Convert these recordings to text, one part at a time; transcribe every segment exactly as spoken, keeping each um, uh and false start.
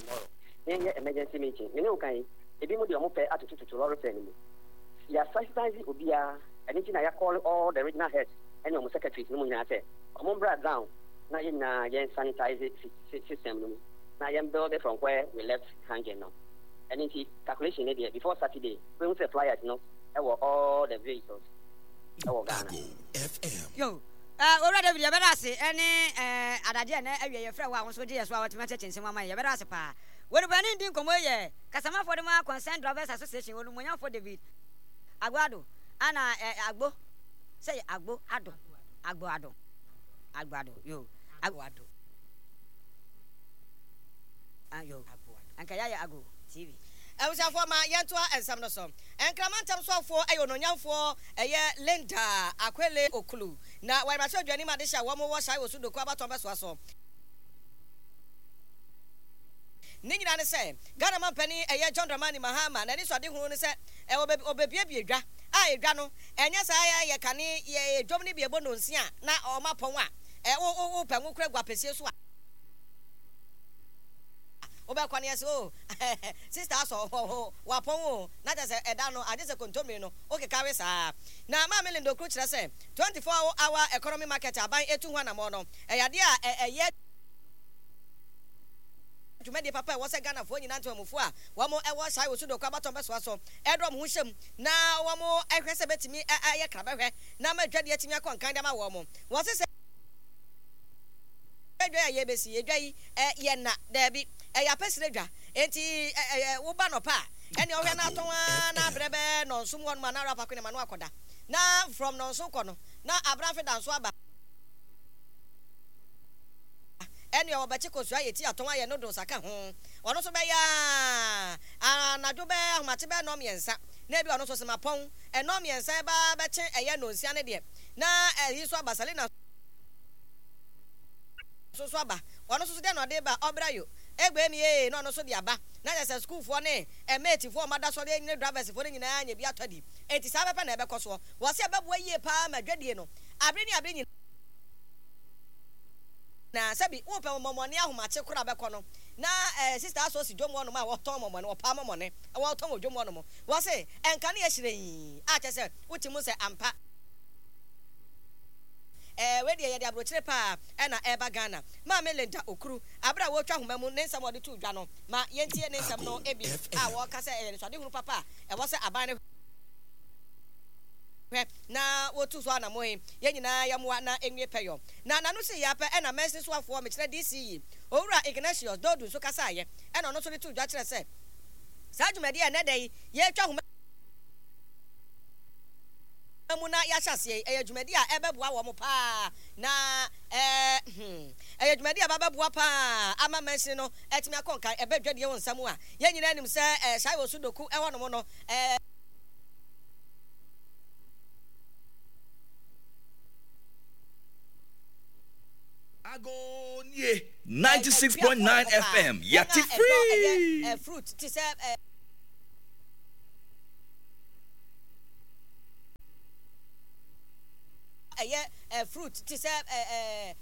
Tomorrow yɛnyɛ emergency meeting. Me ne wo kan yi, ebi mu deɛ ɔmo pɛ atotototo lorry fare no mu. Yɛ sensitize obiara, ɛno nti na yɛ call all the regional heads ɛne ɔmo secretaries no mu nyinaa sɛ ɔmo mbra ground na yɛn nyinaa yɛn sanitize system no mu na yɛn build from where we left hanging no. Ɛno nti calculation ne deɛ, before Saturday wehu sɛ flyers no ɛwɔ all the vehicles ɛwɔ Ghana. Yo, uh, Owura David, yɛbɛda ase ɛne uh, adagye ɛnɛ awie yɛfrɛ wo a wo nso gye yɛ so a watumi akyɛkyɛ nsɛm ama yɛ. Yɛbɛda ase paa. Wɔnubani di nkɔmmɔ yi yɛ kasamafoɔ de ma Concerned Drivers Association, onumonyamfoɔ David Agboado ana uh, Agbo sɛ yɛ Agbo Ado Agbo Ado Agbo Ado yo Agbo Ado ah, yo anka yɛayɛ Ago T V. Abusuafoɔ, ma yɛntoa nsɛm no so. Nkrama ntam soafoɔ ɛyɛ ononyamfoɔ ɛyɛ Linda Akwele Okulu na wɔyɛ mmarahyɛbadwani ma adehyɛ a wɔn wɔ Shai Osu Doku abatɔn bɛsoa so. Ne nyinaa ne sɛ Ghana mampanin ɛyɛ John Dramani Mahama n'ani so adehunu ne sɛ ɔbɛbuebue dwa a edwa no ɛnyɛ saa yɛ kane yɛ dwom no bi ɛbɔ nonsia na ɔma pɔn a wo wopɛ ngo kora gu apɛsie so a wobɛkɔ ne yɛsɛ o sister asɔ wapɔn o, na kyerɛ sɛ ɛda no agye sɛ kontommire no wokeka we saa. Na Maame Linda Okuru kyerɛ sɛ twenty-four hour economy market aban etu ho anammɔn no ɛyɛ adeɛ a ɛyɛ dwumadie papa a ɛwɔ sɛ Ghanafoɔ nyinaa, ntomamufoɔ a wɔn ɛwɔ Shai Osudoku abatɔn bɛsoa so ɛde wɔn ho hyɛm na wɔn ɛhwɛ sɛ bɛtumi ayɛ krabɛhwɛ na ama dwadie atumi akɔ nkan de ama wɔn. Wɔn sɛ dwa a yɛbɛsi edwa yi yɛ na daabi, ɛyɛ apɛsire dwa, enti woba nɔpa a ɛne ɔhwɛ no atɔn ara na abrɛ bɛɛ nɔnso mu hɔnom a na arapa ko ne ma no akɔda na from nɔnso kɔ no na abrafe da nso aba, ɛne ɔbɛkye kosua yɛ ti atɔn ayɛ noodles aka ho. Ɔno nso bɛyɛ a anadwo bɛɛ ahomakye bɛɛ nɔ mmiɛnsa na ebi ɔno nso sema pɔn ɛnɔ mmiɛnsa ɛba bɛkye ɛyɛ nonsia ne deɛ na ɛyi nso aba, Salina nso so aba. Ɔno nso so deɛ na ɔde ba ɔbra yo egbe mi ee na ɔno nso de aba na kyerɛ sɛ sukuufoɔ ne ɛmɛɛtifoɔ ɔmo ada sɔre ne driversfoɔ no nyinaa nya bi atɔ di. Eti saa bɛpɛ na ɛbɛkɔ soɔ. Wɔsi ɛbɛboa yie paa ma dwadie no abere ne abere nyinaa. Sɛbi wopɛ mɔmɔne ahomakye koraa bɛkɔ no na ɛɛ sister asɔ si dwom hɔnom a wɔtɔn mɔmɔne, wɔpaa mɔmɔne wɔtɔn wɔ dwom hɔnom. Wɔsi ɛnka ne yɛ hyerɛn a kyerɛ sɛ wote mu sɛ ampa ɛɛ wei deɛ yɛde aburokyire paa ɛna ɛreba Ghana. Maame Linda Okuru, abere a wɔretwa ahoma mu ne nsɛm a wɔde to dwa no, ma yɛntie ne nsɛm no bi a wɔreka sɛ ɛyɛ nsɔadehunu papa a ɛwɔ sɛ aban no hwɛ na wɔtu so anammɔn yi, yɛn nyinaa yɛmmoa na ɛnwie pɛyɔ. Na n'ano sii yɛ apɛ ɛna mansini soafoɔ, mekyerɛ D C yi, Owura Ignatius Doodu nso kasaeɛ ɛna ɔno nso de too dwa kyerɛ sɛ saa dwumadie a ɛnnɛ da yi yɛretwa ahoma mu na yɛahyɛ aseɛ yi, ɛyɛ dwumadi a ɛbɛboa wɔn paa na ɛɛ hmm ɛyɛ dwumadi a ɛbɛboa paa ama mansini no atumi akɔ nkan. Ɛbɛ dwadie wɔ nsa mu a yɛn nyinaa nim sɛ ɛɛ Shai Osudoku ɛhɔnom no ɛɛ Agonie ninety-six point nine F M yɛte free. Ɛyɛ fruit te sɛ ɛɛ ɛyɛ ɛ fruit te sɛ ɛ ɛ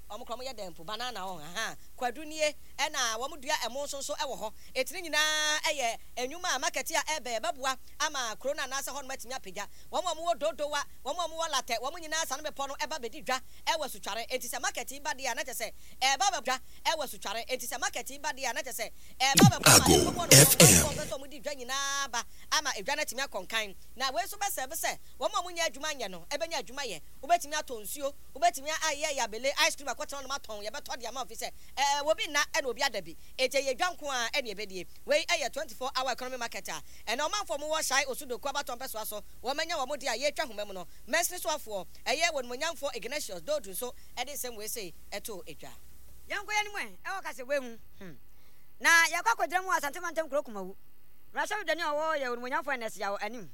wɔn kora wɔyɛ dɛn mpo, banana wɔn ha, kwadu nie, ɛna wɔn dua ɛmo nso nso ɛwɔ hɔ. Etiri nyinaa ɛyɛ enyuma a market a ɛbɛn ɛbɛboa ama kuro no anaasɛ hɔnom atumi apagya. Wɔn a wɔwɔ Dodowa, wɔn a wɔwɔ Latɛ, wɔn nyinaa sane bepɔ no ɛba bɛdi dwa ɛwɔ Asutware. Eti sɛ market yi ba deɛ a na kyɛ sɛ ɛɛba bɛ dwa ɛwɔ Asutware. Eti sɛ market yi ba deɛ a na kyɛ sɛ ɛɛba bɛboa ma Ago ɛkɔm hɔ nom F M. wɔn pɛ sɛ wɔn di dwa nyinaa ba ama edwa no atumi akɔ nkan. Na wei nso bɛsɛbe sɛ wɔn a wɔnyɛ adwuma nyɛ no ɛbɛnya adwuma yɛ. Wobɛtumi atɔ nsuo, wobɛtumi ayɛ yabele ice cream akɔtena nom atɔn, yɛbɛtɔ de ama ofi sɛ ɛɛ obi nna ɛna obi ada bi. Eti ɛyɛ dwa nko a ɛna ɛbɛdie. Wei ɛyɛ twenty-four hour economy market a ɛna ɔmanfoɔ mo wɔ Shai Osudoku abatɔ mpɛsoa so wɔn anya wɔn de a yɛretwa homa mu no. Mansini soafoɔ ɛyɛ wɔnumonyamfoɔ Ignatius Doodu nso ɛde nsɛm wei sei ɛtoo edwa. Yɛnkɔ yɛn anim ɛ, ɛwɔ kasɛbue mu, hmm. Na yɛkɔ akɔgyina mu wɔ Asante Mantam kuro Kumawu. Mmarahyɛbadwani a ɔwɔ yɛ onimonyamfoɔ Ernest Yaw anim.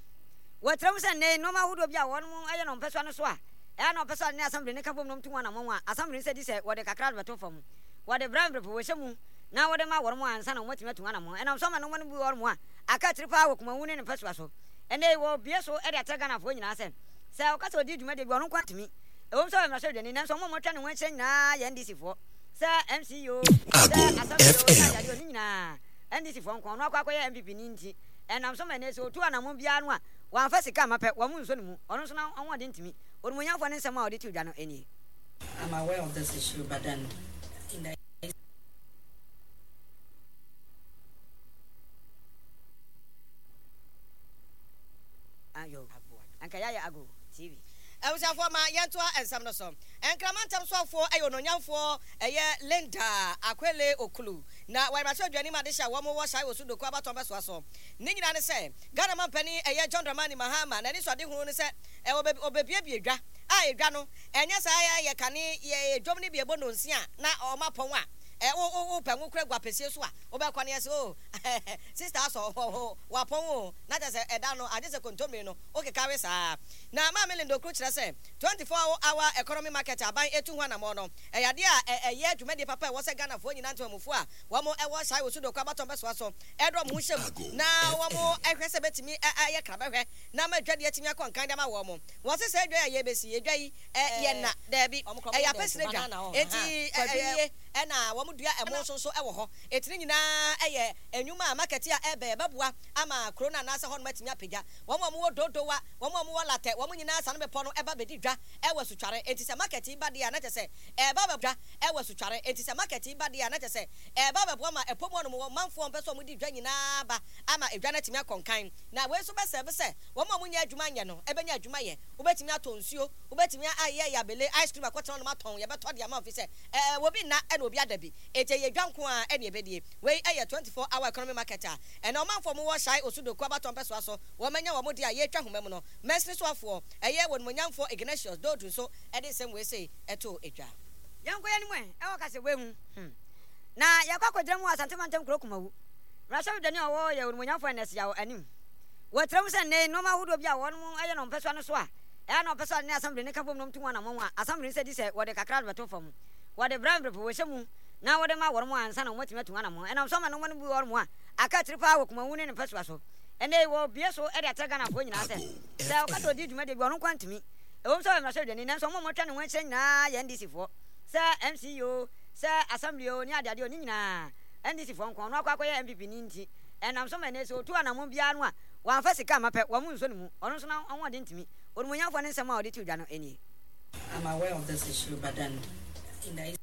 Wɔkyerɛ mu sɛ nnɛ yi nnoɔma ahodoɔ bi a wɔnom yɛ no mpɛsoa no so a ɛyɛ na wɔpɛ sɛ wɔde ne asɛmbre no ka bom na wɔtu ho anammɔn a asɛmbre no sɛ di sɛ wɔde kakra de bɛto fam. Wɔde brɛ mbrɛpo wɔhyɛ mu na wɔde ma wɔnom ansa na wɔatumi atu ho anammɔn. Ɛnam so ama nnoɔma no bi wɔ hɔnom a aka akyiri paa wɔ Kumawu ne ne mpɛsoa so. Ɛnnɛ yi wɔrebue so de akyerɛ Ghanafoɔ nyinaa sɛ sɛ ɔka sɛ ɔdi dwumadie bi a ɔno nko ara ntumi. Ɛwom sɛ ɔyɛ mmarahyɛbadwani nanso wɔn a wɔatwa ne ho ahyia nyinaa yɛ N D C foɔ sɛ M C E o, sɛ Ago Assembly o, sɛ F M. adeade o, ne nyinaa. N D C foɔ nko, ɔno akɔ akɔyɛ N P P ni nti ɛnam so ma ɛnɛ sɛ ɔtu anammɔn biara no a wɔamfa sika amma pɛ, wɔn nso ne mu, ɔno nso n'ahoɔden ntumi. Onimuonyamfoɔ ne nsɛm a ɔde to dwa no nie. I'm aware of this issue, but then in the Ayo, anka yɛayɛ Ago T V. Abusuafoɔ, ma yɛntoa nsɛm no so. Nkrama ntam soafoɔ ɛyɛ ononyamfoɔ ɛyɛ Linda Akwele Okulu na wɔyɛ mmarahyɛbadwani ma adehyɛ a wɔn wɔ Shai Osu Doko abatɔn bɛsoa so. Ne nyinaa ne sɛ Ghana mampanin ɛyɛ John Dramani Mahama n'ani so adehunu ne sɛ ɛwɔ ɔbɛbiebie dwa a edwa no ɛnyɛ saa yɛ kane yɛ dwom ne bi ɛbɔ nonsia na ɔma pɔn a ɛ wo wo wo pɛ ngo kura gu apɛsie so a wobɛkɔ ne yɛ sɛ o sister asɔ wapɔn o, na kyerɛ sɛ ɛda no agye sɛ kontommire no wokeka we saa. Na Maame Linda Okuru kyerɛ sɛ twenty-four hour economy market aban etu ho anammɔn no ɛyɛ adeɛ a ɛyɛ dwumadie papa a ɛwɔ sɛ Ghanafoɔ nyinaa, ntomamufoɔ a wɔn ɛwɔ Shai Osu Doko abatɔn bɛsoa so, ɛde wɔn ho hyɛ mu na wɔn ɛhwɛ sɛ bɛtumi ɛyɛ krabɛhwɛ na ama adwadeɛ atumi akɔ nkan de ama wɔn. Wɔn sɛ sɛ adwa a yɛbɛsi adwa yi yɛ na daabi, ɛyɛ apɛsire dwa, eti ɛyɛ ɛna wɔn dua ɛmo nso nso ɛwɔ hɔ, eti ne nyinaa ɛyɛ enyuma a market a ɛbɛn ɛbɛboa ama kuro no anaasɛ hɔnom atumi apagya. Wɔn a wɔwɔ Dodowa, wɔn a wɔwɔ Latɛ, wɔn nyinaa sane bepɔ no ɛba bɛdi dwa ɛwɔ Asutware. Eti sɛ market yi ba deɛ a, na kyɛ sɛ ɛba bɛ dwa ɛwɔ Asutware. Eti sɛ market yi ba deɛ a, na kyɛ sɛ ɛba bɛboa ma ɛpɔm hɔnom wɔ manfoɔ mpɛ sɛ wɔn di dwa nyinaa ba ama edwa no atumi akɔ nkan. Na wei nso bɛsɛbe sɛ wɔn a wɔnyɛ adwuma nyɛ no ɛbɛnya adwuma yɛ. Wobɛtumi atɔ nsuo, wobɛtumi ayɛ yabele ice cream akɔtena hɔnom atɔn, yɛbɛtɔ de ama ofi sɛ ɛɛ obi nna ɛna obi ada bi. Eti ɛyɛ dwa nko a ɛna ɛbɛdie. Wei ɛyɛ twenty-four hour economy market a ɛna ɔmanfoɔ mo wɔ Shai Osu Doko abatɔn pɛsoa so wɔn anya wɔn de a yɛretwa homa mu no. Mɛsini soafoɔ ɛyɛ wɔn monyamfoɔ Ignatius Doodu nso ɛde nsɛm wei sei ɛto edwa. Yɛnkɔ yɛn mu ɛ ɛwɔ kasa wei mu hmm. Na yɛkɔ akɔgyina mu wɔ Asante mantam kuro Kumawu. Mmarahyɛbadwani a ɔwɔ yɛ onimonyamfoɔ Ernest Yaw anim. Wɔkyerɛ mu sɛ nnɛ yi nneɛma ahodoɔ bi a wɔn yɛ no mpɛsoa no so a ɛyɛ na ɔpɛ sɛ ɔde ne assembly no ka bom na ɔmtu ho anammɔn a assembly no sɛ di sɛ wɔde kakra de bɛto fam, wɔde brɛ mbrɛpo wɔhyɛ mu na wɔde ma wɔn ansa na wɔatumi atu ho anammɔn. Ɛnam so ama nneɛma no bi wɔ hɔ a aka akyiri paa wɔ Kumawu ne ne mpɛsoa so. Ɛnnɛ yi wɔbue so de akyerɛ Ghanafoɔ nyinaa sɛ sɛ ɔka sɛ ɔdi dwumadie bi a ɔno nko ara ntumi. Ɛwom sɛ ɔyɛ mmarahyɛbadwani, nanso wɔn a wɔatwa ne ho ahyia nyinaa yɛ N D C foɔ, sɛ M C o, sɛ assembly o, ne adeade o, ne nyinaa N D C foɔ nko. Ɔno akɔ akɔyɛ N P P ni nti ɛnam so ma ɛnnɛ sɛ ɔtu anammɔn biara no a wɔamfa sika amma pɛ, wɔn nsɔ ne mu. Ɔno nso n'ahoɔden ntumi. Onimuonyamfoɔ ne nsɛm a ɔde too dwa no nie. I'm aware of this issue, but then in the